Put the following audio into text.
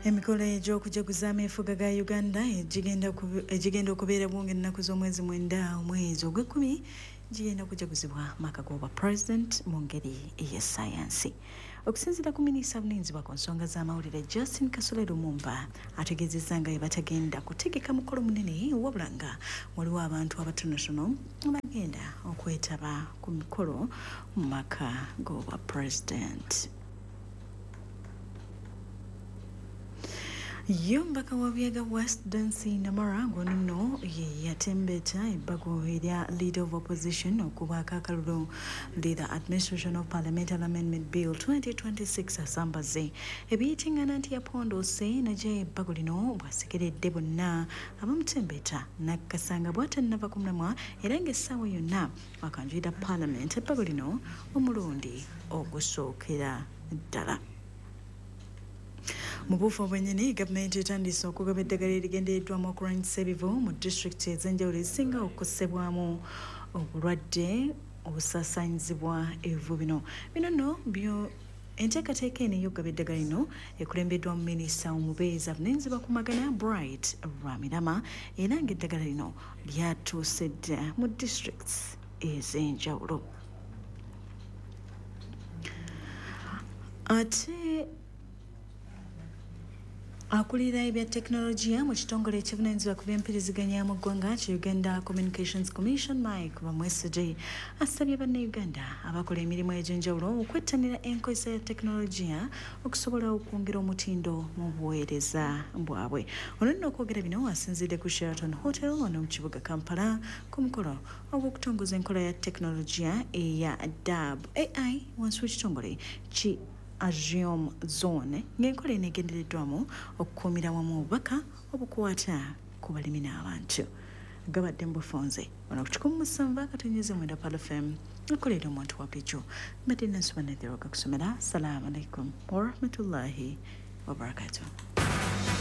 Emikolo egy'okujaguza ameefuga ga Uganda egigenda okubeerawo ng'ennaku z'omwezi 9 omwezi ogw'ekkumi gigenda kujaguzibwa maka g'obwa president mu ngeri ey'essayansi. Okusinziira ku minisita avunaanyizibwa ku nsonga z'amawulire Justin Kasule Lumumba ategeezezza nga bwe batagenda kutegeka mukolo munene, wabula nga waliwo abantu abatonotono abagenda okwetaba ku mikolo mu maka g'obwa president. Ye omubaka wa Buyaga West Dancy Namara ng'ono nno ye yatembeeta ebbago erya Leader of Opposition okubaako akalulu Leader Administration of Parliamentary Amendment Bill 2026 asambaze ebiyitingana nti yapondoose n'aggyayo ebbago lino bw'asekeredde bonna abamutembeeta n'akkasanga bw'atannava ku mulamwa era ng'essaawa yonna akanjulira Parliament ebbago lino omulundi ogusookera ddala. Mu buufu obwennyini, gavumenti etandise okugaba eddagala erigendereddwamu okulwanyisa ebivu mu disitulikiti ez'enjawulo ezisinga okukosebwamu obulwadde obusaasaanyizibwa ebivu bino. Bino nno byo enteekateeka eno ey'okugaba eddagala lino ekulembeddwa mu minisita omubeezi avunaanyizibwa ku Magana Bright Rwamirama era ng'eddagala lino lyatuuse dda mu disitulikiti ez'enjawulo. Ate akulira ebya tekinologiya mu kitongole ekivunaanyizibwa ku by'empiriziganya mu ggwanga ki Uganda Communications Commission Mike Bamwesigye asabye bannayuganda abakola emirimu egy'enjawulo okwettanira enkozesa ya tekinologiya okusobola okwongera omutindo mu buweereza bwabwe. Ono nno okwogera bino asinzidde ku Sheraton Hotel wano mu kibuga Kampala ku mukolo ogw'okutongoza enkola ya tekinologiya eya DAB AI wansi w'ekitongole ki Agium Zone ng'enkola eno egendereddwamu okukuumira wamu obubaka obukwata ku balimi n'abantu. Gabadde mu bufunze wano ku 107.9 Pearl FM akolera omuntu wa bulijjo. Mbadde Nansuba Nadhiroga kusomera. Assalamu alaikum warahmatullahi wabarakatuh.